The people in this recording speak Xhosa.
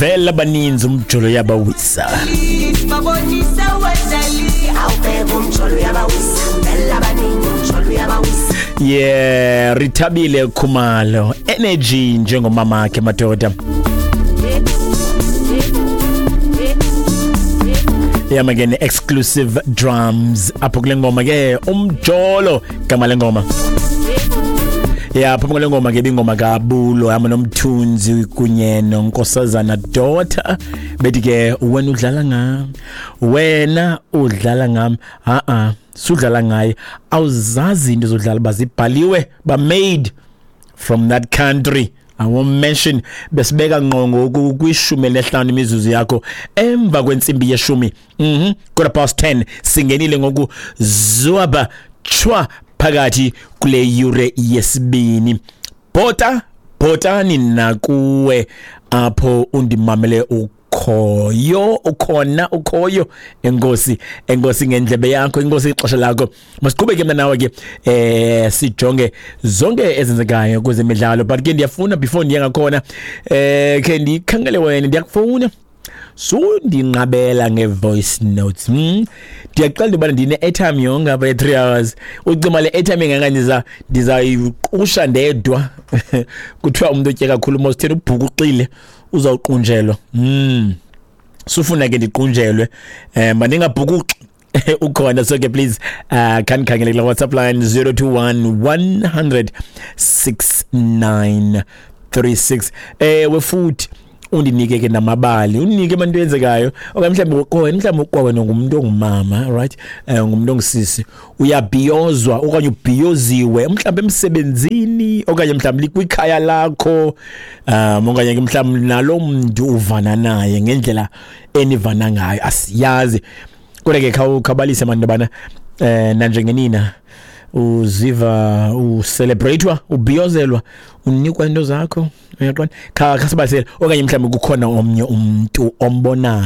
Vela baninzi umjolo yabawisa. Babonisa wadali awubheka umjolo uyabawisa vela baningi umjolo uyabawisa. Yeah, Rithabile Khumalo, energy njengomama wakhe madoda. Yama ke ne-exclusive drums apho kule ngoma ke, umjolo gama lengoma. Ya, phambi kwale ngoma ke ibingoma kaBulo hamba noMthunzi kunye noNkosazana Daughter, bethi ke wena udlala ngam, wena udlala ngam, ha-a sudlala ngaye, awuzazi into zodlala bazibhaliwe ba made from that country I won't mention. Besibeka ngqo ngoku kwishumi lesihlanu imizuzu yakho emva kwentsimbi yeshumi, 10:15 singenile ngoku zwaba chwa phakathi kule yure yesibini. Bhota bhotani nakuwe apho undimamele ukhoyo, ukhona ukhoyo. Enkosi, enkosi ngendlebe yakho, enkosi ixesha lakho. Masiqhubeke mna nawe ke sijonge zonke ezenzekayo kwezemidlalo, but ke ndiyafuna before ndiye ngakhona ke ndikhangele wena, ndiyakufuna sundinqabela nge-voice notes. Ndiyaqala into yobana ndine-airtime yonke apha ye-3 hours. Ucima le airtime ingaka ndizayiqusha ndedwa. Kuthiwa umntu otye kakhulu mositheni ubhukuxile uzawuqunjelwa. Sufuna ke ndiqunjelwe, mandingabhukuxi ukhona. So ke please khanikhangele kula WhatsApp line 021 100 6936. Ewe, futhi undinike ke namabali, undinike abantu eyenzekayo, okanye mhlawumbi wena, mhlawumbi kwawena ngumntu ongumama, right, ngumntu ongusisi, uyabhiyozwa okanye ubhiyoziwe mhlawumbi emsebenzini okanye mhlawumbi kwikhaya lakho, okanye ke mhlawumbi nalo mntu uvana naye ngendlela enivana ngayo, asiyazi. Kodwa ke khawubalise mani yobana nanjengenina uziva ucelebratewa, ubhiyozelwa, unikwa into zakho, uyaqonda? Khasibalisele okanye mhlawumbi kukhona omnye umntu ombonayo.